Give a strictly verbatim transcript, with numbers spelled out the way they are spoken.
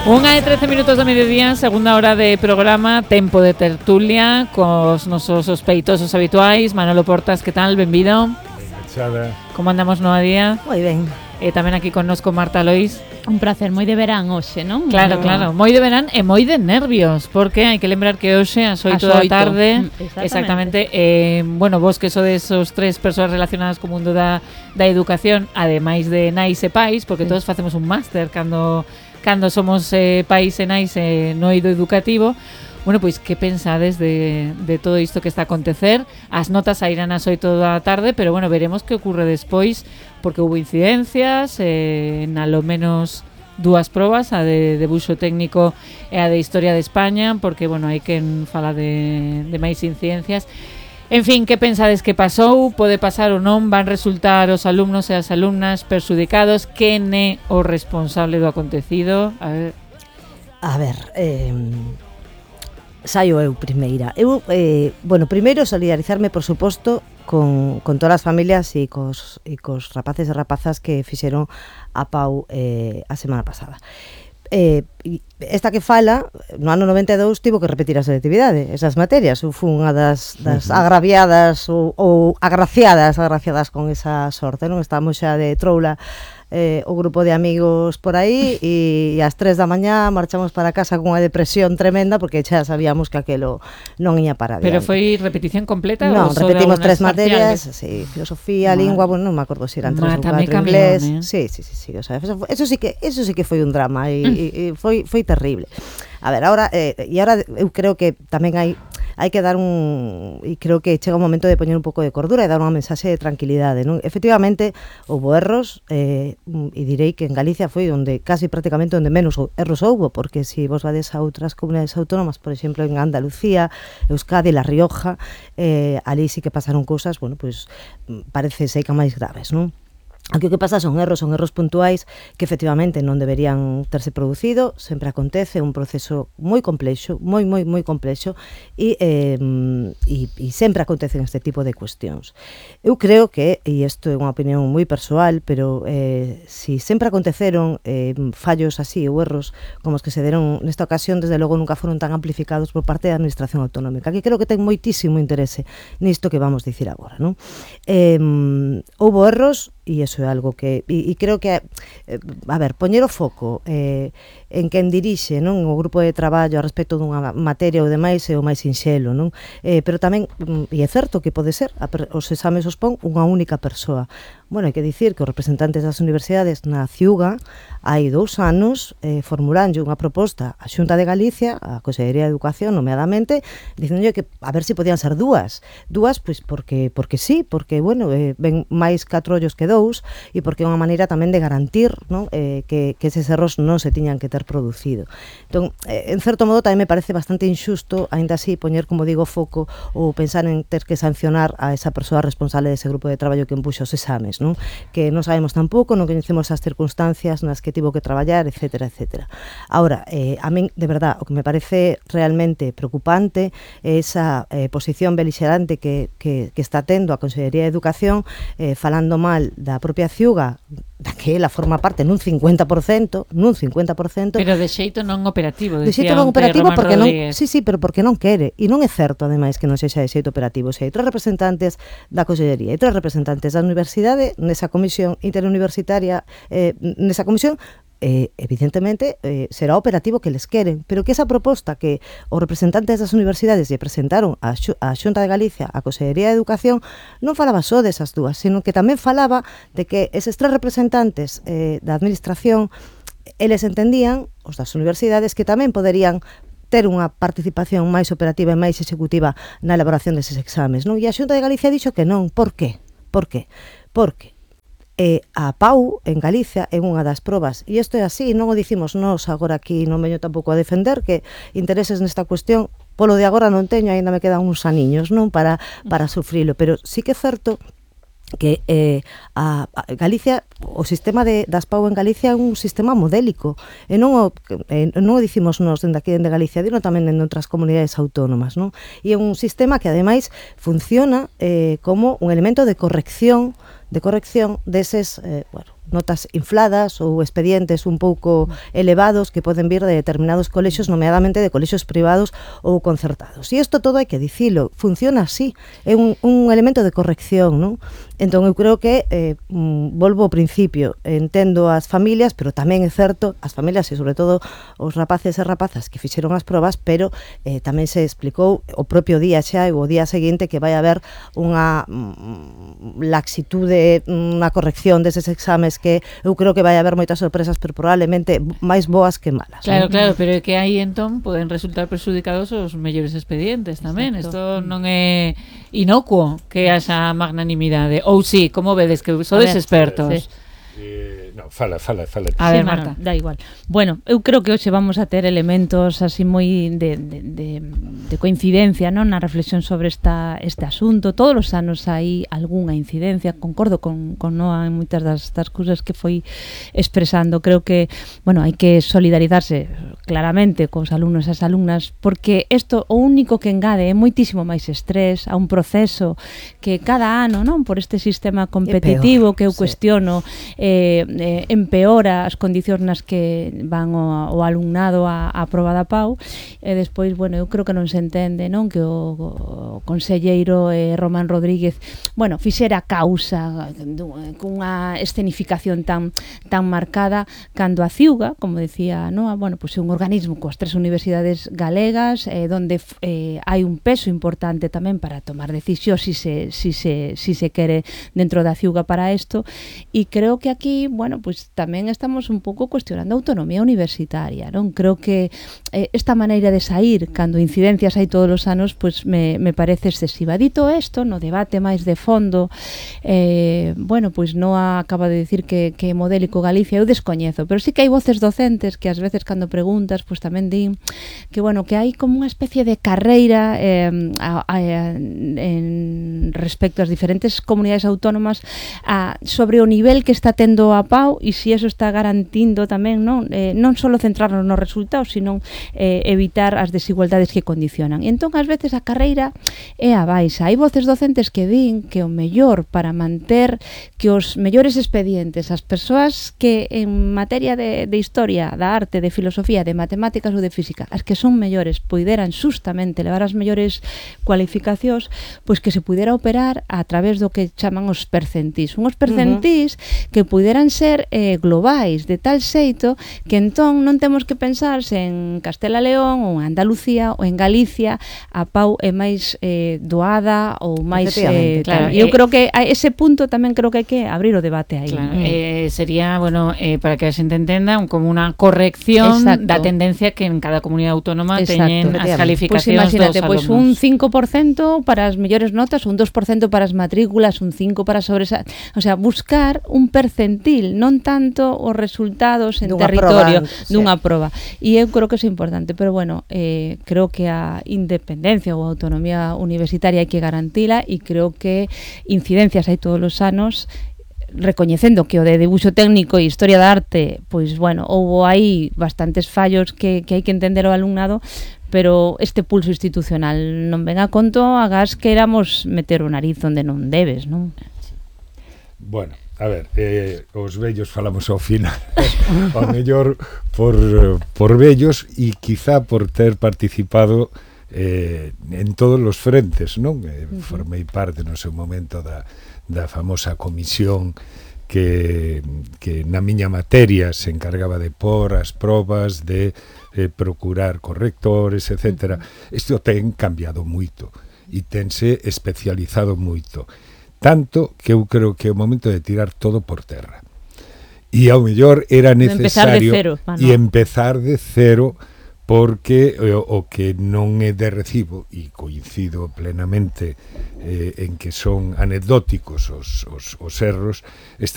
Unha de trece minutos do mediodía, segunda hora de programa, tempo de tertulia cos nosos sospeitosos habituais. Manolo Portas, que tal? Benvido. Benvida. Como andamos no a día? Moi ben. E tamén aquí connosco Marta Lois. Un placer, moi de verán hoxe, non? Claro, no. claro, moi de verán e moi de nervios, porque hai que lembrar que hoxe ás oito da tarde, Exactamente, exactamente eh, bueno, vos que sodes esos tres persoas relacionadas co mundo da, da educación, ademais de nais e pais, porque sí. todos facemos un máster cando cando somos eh, pais e nais eh, no eido educativo. Bueno, pois que pensades de, de todo isto que está a acontecer? As notas sairán ás oito da tarde, pero bueno, veremos que ocurre despois, porque hubo incidencias, eh, en alo menos dúas probas, a de debuxo técnico e a de Historia de España, porque, bueno, hai quen fala de, de máis incidencias. En fin, que pensades que pasou? Pode pasar ou non? Van resultar os alumnos e as alumnas perxudicados? Quen é o responsable do acontecido? A ver... A ver, eh... saio eu primeira. Eu, eh, bueno, primeiro solidarizarme, por suposto, con, con todas as familias e cos, e cos rapaces e rapazas que fixeron a Pau eh, a semana pasada. Eh, esta que fala, no ano noventa e dous tivo que repetir a selectividade, esas materias. Eu fui unha das, das agraviadas ou, ou agraciadas, agraciadas con esa sorte, non? Estamos xa de troula eh, o grupo de amigos por aí e, e ás tres da mañá marchamos para casa con unha depresión tremenda porque xa sabíamos que aquelo non ia para adiante. Pero foi repetición completa? Non, repetimos tres materias, parciales? Sí, filosofía, Ma, lingua, bueno, non me acordo se eran tres ou catro, inglés, eh? sí, sí, sí, sí, o sea, eso, eso sí que eso sí que foi un drama e, mm. e, e foi foi terrible. A ver, ahora eh, e agora eu creo que tamén hai hai que dar un e creo que chega un momento de poñer un pouco de cordura e dar unha mensaxe de tranquilidade, non? Efectivamente, houbo erros eh, e direi que en Galicia foi onde casi prácticamente onde menos erros houbo, porque se si vos vades a outras comunidades autónomas, por exemplo, en Andalucía, Euskadi, La Rioja, eh, ali sí que pasaron cousas, bueno, pois pues, parece sei que máis graves, non? Aquí o que pasa son erros, son erros puntuais que efectivamente non deberían terse producido, sempre acontece, un proceso moi complexo, moi, moi, moi complexo e, eh, e, e sempre acontecen este tipo de cuestións. Eu creo que, e isto é unha opinión moi persoal, pero eh, si sempre aconteceron eh, fallos así ou erros como os que se deron nesta ocasión, desde logo nunca foron tan amplificados por parte da Administración Autonómica, que creo que ten moitísimo interese nisto que vamos dicir agora, non? Eh, houbo erros e iso é algo que e, e creo que eh, a ver, poñer o foco eh, en quen dirixe, non, o grupo de traballo a respecto dunha materia ou demais é o máis sinxelo, non? Eh, pero tamén e é certo que pode ser a, os exames os pon unha única persoa. Bueno, hai que dicir que os representantes das universidades na Ciuga hai dous anos eh, formulanlle unha proposta á Xunta de Galicia, á Consellería de Educación, nomeadamente, dicéndolle que a ver se podían ser dúas. Dúas, pois porque porque sí, porque, bueno, eh, ven máis catro ollos que dous e porque é unha maneira tamén de garantir, non, eh, que, que eses erros non se tiñan que ter producido. Entón, eh, en certo modo, tamén me parece bastante injusto, aínda así, poñer, como digo, foco ou pensar en ter que sancionar a esa persoa responsable dese grupo de traballo que empuxa os exames, non? Que non sabemos tampouco, non coñecemos as circunstancias nas que tivo que traballar, etcétera, etcétera. Ahora, eh, a min, de verdad, o que me parece realmente preocupante é esa eh, posición belixerante que, que, que está tendo a Consellería de Educación eh, falando mal da propia Ciuga, da que ela forma parte nun cincuenta por cento, nun cincuenta por cento. Pero de xeito non operativo, de xeito non operativo porque non, sí, sí, pero porque non quere, e non é certo ademais que non sexa de xeito operativo. Se hai tres representantes da Consellería e tres representantes da Universidade nesa comisión interuniversitaria, eh, nesa comisión Eh, evidentemente eh, será operativo que les queren, pero que esa proposta que os representantes das universidades lle presentaron á Xunta de Galicia, á Consellería de Educación, non falaba só desas dúas, sino que tamén falaba de que eses tres representantes eh, da administración, eles entendían, os das universidades, que tamén poderían ter unha participación máis operativa e máis executiva na elaboración deses exames, non? E a Xunta de Galicia dixo que non. Por qué? Por qué? Porque E a Pau en Galicia é unha das probas, e isto é así, non o dicimos nós agora aquí, non veño tampouco a defender que intereses nesta cuestión, polo de agora non teño, aínda me quedan uns aniños, non, para, para sufrilo, pero sí que é certo que eh, a, a Galicia, o sistema de, das Pau en Galicia é un sistema modélico e non o, eh, non o dicimos nós dende aquí dende Galicia, dino tamén en outras comunidades autónomas, non? E é un sistema que ademais funciona eh, como un elemento de corrección de corrección deses, eh, bueno, notas infladas ou expedientes un pouco elevados que poden vir de determinados colexos, nomeadamente de colexos privados ou concertados. E isto todo hai que dicilo, funciona así, é un, un elemento de corrección, non? Entón eu creo que eh, volvo ao principio, entendo as familias, pero tamén é certo, as familias e sobre todo os rapaces e rapazas que fixeron as probas, pero eh, tamén se explicou o propio día xa e o día seguinte que vai haber unha mm, laxitude, unha corrección deses exames que eu creo que vai haber moitas sorpresas, pero probablemente máis boas que malas. Claro, claro, pero é que aí entón poden resultar perxudicados os mellores expedientes tamén. Isto non é inocuo que haxa magnanimidade. Ou sí, como vedes que sodes expertos. Sí. Eh, no, fala, fala, fala. A ver, sí, Marta. Bueno, da igual. Bueno, eu creo que hoxe vamos a ter elementos así moi de, de, de, de coincidencia, non, na reflexión sobre esta, este asunto. Todos os anos hai algunha incidencia, concordo con, con Noa en moitas das, das cousas que foi expresando. Creo que, bueno, hai que solidarizarse claramente cos alumnos e as alumnas, porque isto o único que engade é moitísimo máis estrés a un proceso que cada ano, non, por este sistema competitivo que eu cuestiono, Eh, eh, empeora as condicións nas que van o, o alumnado a, a prova da P A U e despois, bueno, eu creo que non se entende, non, que o, o conselleiro eh, Román Rodríguez, bueno, fixera causa cunha escenificación tan tan marcada cando a Ciuga, como decía Noa, bueno, pois é un organismo coas tres universidades galegas eh, donde eh, hai un peso importante tamén para tomar decisións si se, si se, si se quere dentro da Ciuga para isto, e creo que aquí, bueno, pues tamén estamos un pouco cuestionando a autonomía universitaria, non? Creo que eh, esta maneira de sair cando incidencias hai todos os anos, pues me, me parece excesiva. Dito isto, no debate máis de fondo, eh, bueno, pues Noa acaba de decir que, que modélico Galicia, eu descoñezo, pero sí que hai voces docentes que ás veces cando preguntas, pues tamén din que, bueno, que hai como unha especie de carreira eh, a, a, en respecto ás diferentes comunidades autónomas a, sobre o nivel que está tendo a P A U e se eso está garantindo tamén, non, eh, non só centrarnos nos resultados, sino eh, evitar as desigualdades que condicionan. E entón, ás veces, a carreira é a baixa. Hai voces docentes que din que o mellor para manter que os mellores expedientes, as persoas que en materia de, de historia, da arte, de filosofía, de matemáticas ou de física, as que son mellores, poideran justamente levar as mellores cualificacións, pois que se pudera operar a través do que chaman os percentís. Unhos percentís uh-huh. que puderan ser eh, globais, de tal xeito que entón non temos que pensar se en Castela León ou en Andalucía ou en Galicia a P A U é máis eh, doada ou máis eh, claro, tal. Eu eh, creo que a ese punto tamén creo que hai que abrir o debate aí. Claro, eh, sería, bueno, eh, para que a xente entenda, un, como unha corrección Exacto. da tendencia que en cada comunidade autónoma Exacto. teñen as calificacións pues dos alumnos. Pois pues un cinco por cento para as mellores notas, un dos por cento para as matrículas, un cinco por ciento para sobresal, o sea, buscar un percentil, non tanto os resultados en dunha territorio proba, dunha sí. proba. E eu creo que é importante, pero bueno, eh, creo que a independencia ou a autonomía universitaria hai que garantila e creo que incidencias hai todos os anos recoñecendo que o de dibuixo técnico e historia da arte, pois bueno, houbo aí bastantes fallos que, que hai que entender o alumnado, pero este pulso institucional non ven a conto, agás que éramos meter o nariz onde non debes, non? Bueno, a ver, eh, os vellos falamos ao final, ao mellor por, por vellos e quizá por ter participado eh, en todos os frentes, non? Eh, uh-huh. Formei parte no seu momento da, da famosa comisión que, que na miña materia se encargaba de por as probas, de eh, procurar correctores, etcétera. Uh-huh. Isto ten cambiado moito e tense especializado moito. Tanto que eu creo que é o momento de tirar todo por terra. E ao mellor era necesario e empezar de cero, porque o, o que non é de recibo, e coincido plenamente eh, en que son anecdóticos os, os, os erros, está